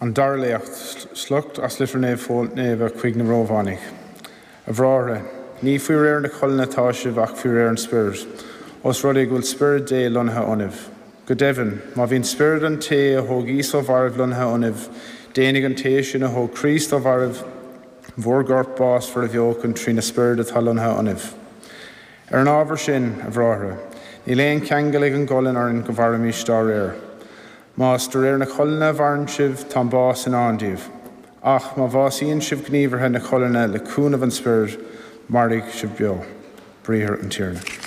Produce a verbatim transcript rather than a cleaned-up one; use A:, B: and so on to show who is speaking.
A: An dara léacht, sliocht as litir Naomh Pól Naofa chuig na Rómhánaigh. A bhráithre, ní faoi réir na colainne atá sibh ach faoi réir an Spioraid, os rud é go bhfuil Spiorad Dé lonnaithe ionaibh. Go deimhin, má bhíonn Spiorad an té a thóg Íosa ó mhairbh lonnaithe ionaibh, déanfaidh an té sin a thóg Críost ó mhairbh bhur gcorp básmhar a bheochan trína Spiorad atá lonnaithe ionaibh. Ar an ábhar sin, a bhráithre, níl aon cheangal ag an gcolainn orainn go mairfimis dá réir. Más de réir na colainne a mhaireann sibh, tá an bás i ndán daoibh. Ach má bhásaíonn sibh gníomhartha na colainne le cúnamh an Spioraid, mairfidh sibh beo. Briathar an Tiarna.